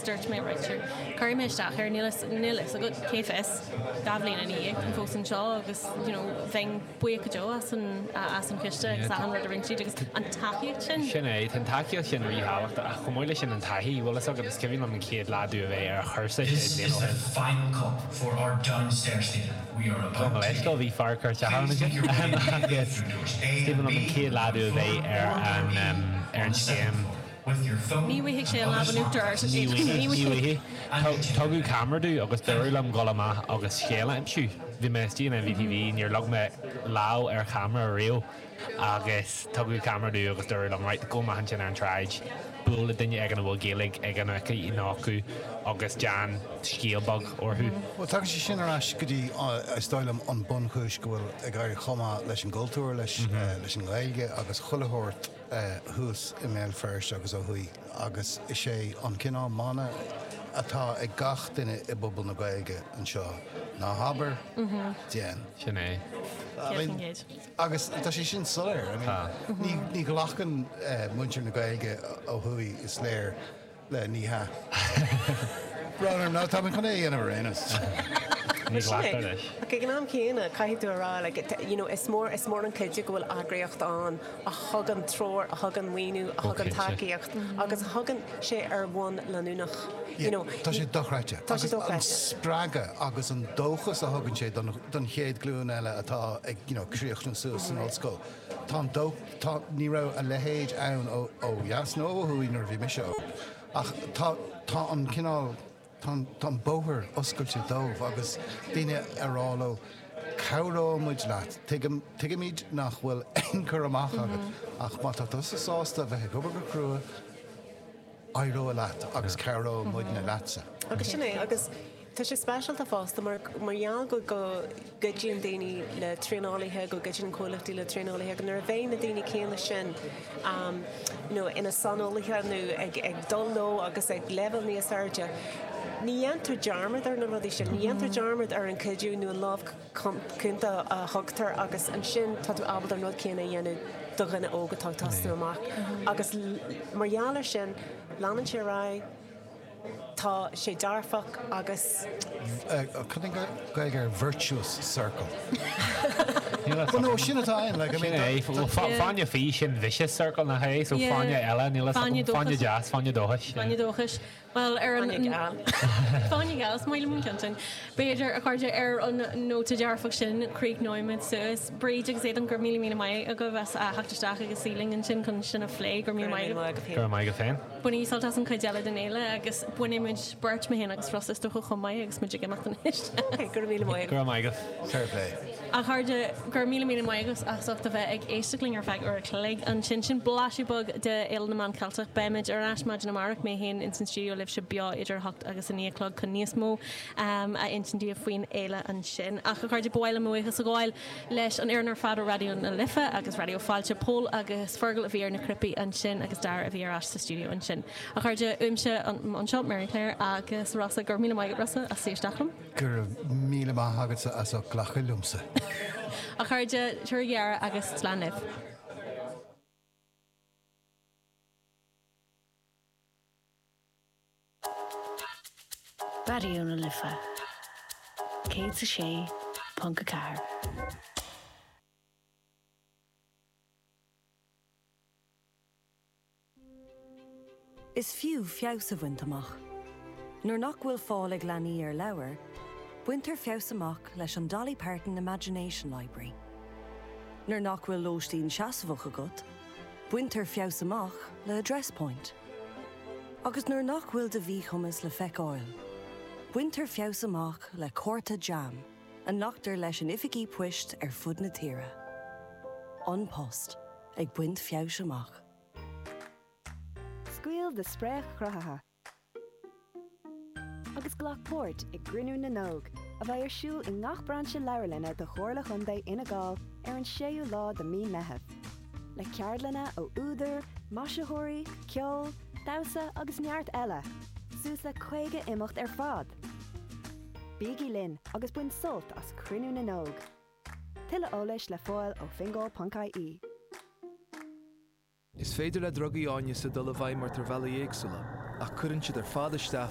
dúirt mé right sure cuirfidh mé isteach air níl níl fhios agat cé fios 2 bhliain ina dhiaidh táim fós anseo agus you know bheinn buíoch go deo as an as an chiste agus achan rud a rinne siad agus an tacaíocht sin. Sin é, tá an tacaíocht sin ríthábhachtach ach chomh maith leis sin an taithí, bhfuil fhios agat, is cuimhin liom an chéad lá domh a bheith ar chúrsa sé This bliana is ó the shin. final cup for our downstairs theatre. We are Gabh mo about to leithscéal, begin. bhí fear ag cur isteach orm Please ansin make your way agus through doors is A cuimhin and liom an B chéad on lá the domh a floor bheith ar or door an E ar on an the second scéim. floor with your phone Ní bhfaighidh sé and an other lámh in smart uachtar ort. devices. Ní bhfaighidh, Ní ní bhfaighidh. bhfaighidh. Tugadh ceamara domh agus dúradh liom dul amach agus scéal a aimsiú. Bhí mé istigh in NVTV, níor leag mé lámh ar cheamara riamh agus tugadh ceamara domh agus dúradh liom, right, gabh amach ansin ar an tsráid, buail le duine éigin a bhfuil Gaeilge aige nó aici nó acu agus déan scéal beag orthu. Bhuel, tagann sé sin ar ais go dtí, is dóigh liom, an bunchúis go bhfuil ag éirí chomh maith leis an gcultúr, leis an nGaeilge agus chuile shórt thuas i mBéal Feirste agus ó thuaidh agus is é an cineál mana atá ag gach duine i bpobal na Gaeilge anseo, ná habair, déan. Sin é. 100%. Agus tá sé sin soiléir. I mean, ní ghlacann muintir na Gaeilge ó thuaidh, is léir, le ní hea. Brón orm, nó tá mé chun é a dhéanamh ar aon nós. Ní ghlactar leis. Ach ag an am céanna, caithfidh tú a rá, like, you know, is mór, is mór an cuidiú go bhfuil eagraíocht ann a thugann treoir, a thugann maoiniú, a thugann tacaíocht agus a thugann sé ar bhonn leanúnach. You know, Tá sé dochreidte. Tá sé Agus an dochreidte. spreagadh agus an dóchas a thugann sé don, don chéad ghlúin eile atá ag, you know, críochnú suas san ollscoil. Tá an dó, tá, ní raibh a leithéid ann ó, ó dheas nó ó thuaidh nuair a bhí mise óg. Ach tá, tá an cineál, tá an, tá an bóthar oscailte dóibh agus daoine a rá leo, cabhróidh muid leat, tuigim, tuigimid nach bhfuil aon chur amach agat ach má tá tusa sásta a bheith ag obair go crua, éireoidh leat agus cabhróidh muidne leatsa. Agus sin é, agus tá sé speisialta fosta mar mar gheall go go gcuidíonn daoine le traenálaithe, go gcuidíonn comhlachtaí le traenálaithe, go nuair a bheidh na daoine céanna sin you know ina saineolaithe nó ag ag dul leo agus ag leibhéal níos airde, ní dhéantar dearmad ar na rudaí sin, ní dhéantar dearmad ar an chuidiú nó an lámh cúnta a thugtar agus ansin tá tú ábalta an rud céanna a dhéanamh do dhuine óg atá ag tosnú amach agus mar gheall air sin leanann sé ar aghaidh, tá sé dearfach agus. Cad é an Ghaeilge ar virtuous circle? Well no, sin atá ann, like I mean. Sin é, fáinne fí, sin vicious circle nach é? So fáinne eile, níl fhios agam, fáinne deas, fáinne dóchais. Fáinne dóchais. Bhuel, ar an. Fáinne geal. Fáinne geal, is maith liom an ceann sin. B'fhéidir, a chairde, ar an nóta dearfach sin, críochnóimid suas. Bríd agus Aodán, go raibh míle míle maith agaibh as theacht isteach agus suí linn ansin chun sin a phlé. Go raibh míle maith agat. Go raibh maith agat féin. Bainigí sult as an chuid eile den fhéile agus bainfidh muid beirt, mé féin agus Rossa, is dócha, chomh maith agus muid ag imeacht anois. Go raibh míle maith agat. Go raibh maith agat. Fair play. A chairde, go raibh míle míle maith agat as ucht a bheith ag éisteacht linn ar feadh uair a chloig ansin. Sin blaiseadh beag de Fhéile na Meán Ceilteach. Beimid ar ais maidin amárach, mé féin ins an stiúideo libhse beo idir 8 agus 9 a chlog chun níos mó a insint daoibh faoin fhéile ansin. Ach a chairde, ba mhaith liom mo bhuíochas a ghabháil leis an fhoireann ar fad ó Raidió na Life agus Raidió Fáilte, Pól agus Fergal a bhí ar na cnaipí ansin agus Dara a bhí ar ais sa stiúideo ansin. A chairde, uaimse anseo, Mary Claire agus Rossa, go raibh míle maith agat Rossa as suí isteach liom. Go raibh míle maith agatsa as ucht glacadh liomsa. A chairde, tabhair aire agus slán libh. Raidió na Life 106.4. Is fiú feabhas a bhaint amach. Nuair nach bhfuil fáil ag leanaí ar leabhair, baintear feabhas amach leis an Dolly Parton Imagination Library. Nuair nach bhfuil lóistín seasmhach agat, baintear feabhas amach le Address Point. Agus nuair nach bhfuil do mhíchumas le feiceáil, baintear feabhas amach le cárta JAM a nglactar leis in oifigí poist ar fud na tíre. An Post, ag baint feabhais amach. Scaoil do spréach chruthaithe agus glac páirt i gCruinniú na nÓg, a bheidh ar siúl i ngach brainse leabharlainne de Chomhairle Chontae Fhine Gall ar an 6ú lá de mí Meitheamh. Le ceardlanna ó údair, maisitheoirí, ceol, damhsa agus neart eile, suas le 50 imeacht ar fad! Bígí linn agus bain sult as Cruinniú na nÓg! Tuilleadh eolais le fáil ó fingal.ie. Is féidir le drugaí áineasa dul i bhfeidhm ort ar bhealaí éagsúla, ach cuireann siad ar fad isteach.